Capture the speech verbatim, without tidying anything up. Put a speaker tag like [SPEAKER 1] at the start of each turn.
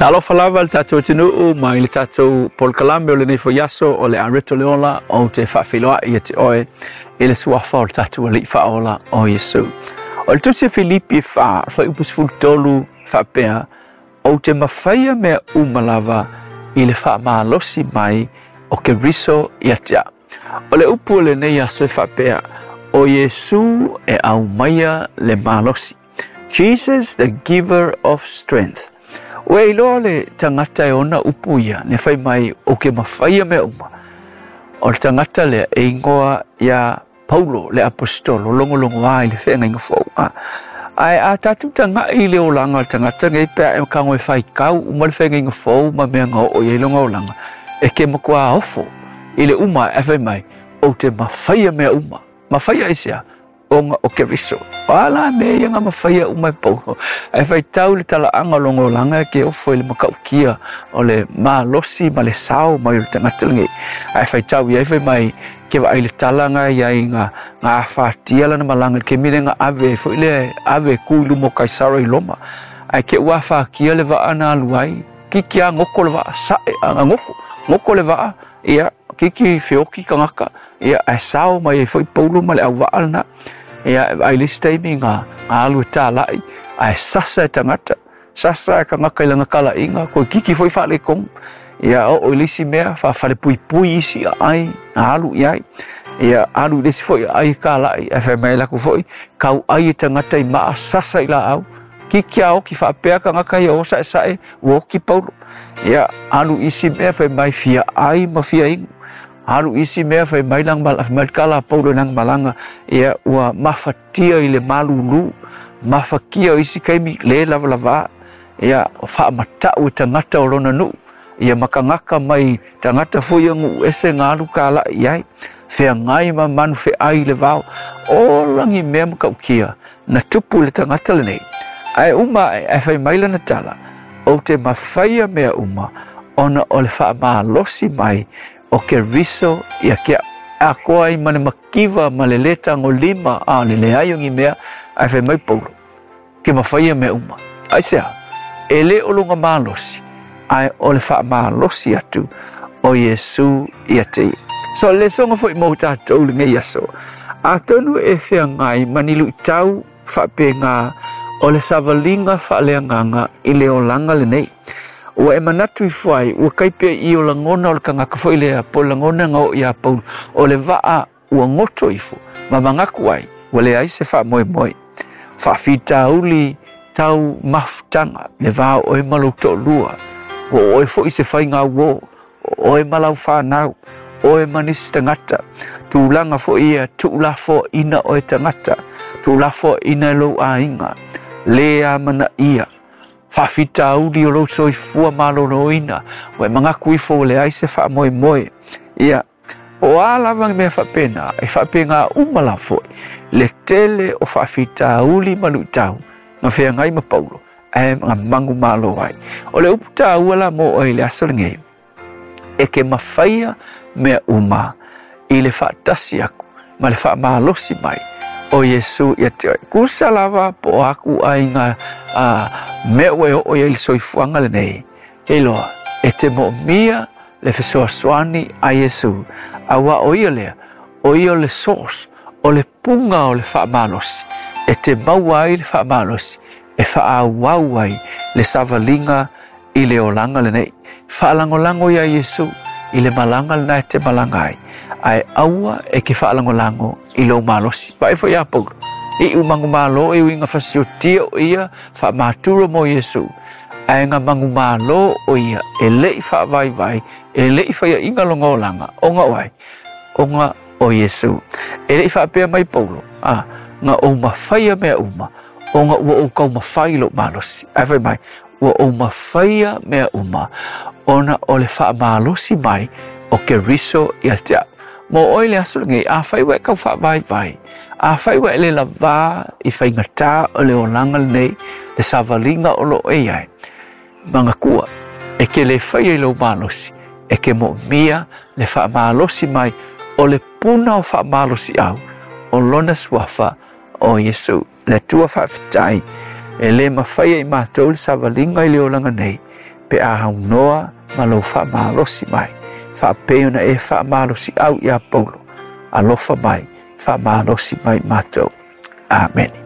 [SPEAKER 1] Talofa lava le tatou atunuu mai le tatou polokalame o lenei foi aso o le Areto le Ola ou te faafeiloai ia te oe i le suafa o le tatou Alii Faaola o Iesu. O le tusi a Filipi fa fuaiupu sefulu tolu faapea, ou te mafaia mea uma lava i le faamalosi mai o Keriso ia te au. O le upu o lenei aso e faapea, o Iesu e aumaia le malosi. Jesus, the giver of strength. Ua iloa le tagata e ona upu ia, ne fai mai o ke mafaia mea uma. O le tagata lea e ingoa ia Paulo le apostolo, logologo ai le feagaiga fou. Ae a tatou tagai i le olaga o le tagata nei pe a e tago e faitau uma le feagaiga fou ma mea na oo i ai lona olaga, e ke matua ofo i le uma e fai mai, ou te mafaia mea uma. Mafaia aisea? Ona o Keriso. O a la mea ia nga mafaia uma e Paulo. Ae faitau le talaaga o lona olaga e ke ofo i le matautia o le malosi ma le sao mai o le tagata lenei. Ae faitau i ai fai mai ke vaai le tala nga iai nga nga afatia lana malaga i le kemi lea nga ave ai foi lea ave ku i luma o Kaisara i Roma. Ae ke ua afatia le vaa na alu ai, kiki a goko le vaa, sae a goko, goko le vaa, ia kiki feoki tagata, ia ae sao mai ai foi Paulo ma le auvaa lena. Ia ai le isi taimi nga nga alu e talai, ae sasa e tagata, sasa e tagata i lana kalaiga, koe kiki foi faaletonu. Ia oo i le isi mea, faafalepuipui isi aai, na alu i ai. Ia alu i le isi foi aai e kalai, ae fai mai lakou foi, kau ai e tagata i maa, sasa i laau. Kiki a oki faapea tagata ia o saesae, ua oki Paulo. Ia alu i isi mea fai mai fia ai ma fia inu. Alu isi mea fai mai lana malaga, fai mai le tala a Paulo i lana malaga, ia ua mafatia i le malulu, mafatia o isi taimi le lavalava, ia faamatau e tagata o lona nuu, ia ma tagata mai tagata foi ia nuu ese nga alu kalai i ai, feagai ma manu feai i le vao, o lagi mea matautia na tupu i le tagata lenei. Ae uma ae, ae fai mai lana tala, ou te mafaia mea uma, ona o le faamalosi mai o Keriso ia ke akoa ai ma le makiva ma le le tagolima a le leai o ni mea, ae fai mai Paulo, ke mafaia mea uma. Aisea, e le o lona malosi, ae o le faamalosi atu o Iesu ia te ia. So le soga foi mo tatou lenei aso, atonu e feagai ma ni luitau faapega o le savaliga faaleagaga i le olaga lenei. Ua e manatu ifo ai, ua kai pea i o lagona o le tagata foi lea, po o lagona nga oo iā Paulo, o le vaa ua goto ifo, ma manatu ai, ua leai se faamoemoe. Faafitauli tau mafutaga, le va o oe ma lou toalua, ua oe foi se faiga uō, o oe ma lau fanau, oe ma nisi tagata, tulaga foi ia tuulafoaina oe tagata, tuulafoaina e lou aiga, le amanaia, faafitauli o lou soifua maloloina, ua e manatu ifo ua leai se faamoemoe. Ia, po o a lava ni mea faapena, e faapena uma lava foi, le tele o faafitauli ma luitau, na feagai ma Paulo, ae na manumalo ai. O le upu taua la mo oe i le aso lenei, e ke mafaia mea uma i le faatasi aku ma le faamalosi mai o Iesu ia te oe. Kusa lava po o aku aiga a mea ua e oo i ai le soifuaga lenei, ke iloa e te moomia le fesoasoani a Iesu, auā o ia lea, o ia o le source, o le puga o le faamalosi, e te maua ai le faamalosi, e faaauau ai le savaliga i le olaga lenei. Faalagolago iā Iesu i le malaga lena e te malaga ai, ae aua e ke faalagolago i lou malosi. Vaai foi iā Paulo, iu manumalo e uiga fasiotia o ia faamaturo mo Iesu, ae na manumalo o ia e le'i faavaivai, e le'i faiaʻiga lona olaga, ona o ai, ona o Iesu. E le'i faapea mai Paulo, a, na ou mafaia mea uma, ona ua ou taumafai i lou malosi. Ae fai mai, ua ou mafaia mea uma, ona o le faamalosi mai o Keriso ia te au. Mo oe le aso lenei, afai ua e tau faavaivai, afai ua e le lavā i faigatā o le olaga lenei, le savaliga o lo o e i ai, manatua, e ke le faia i lou malosi, e ke moomia le faamalosi mai o le puna o faamalosiau o lona suafa o Iesu. Le Atua faafetai, e le mafaia i matou le savaliga i le olaga nei, Pe a aunoa ma lou faamalosi mai, faapei ona e faamalosiau ia Paulo. Alofa mai, faamalosi mai matou. Amene.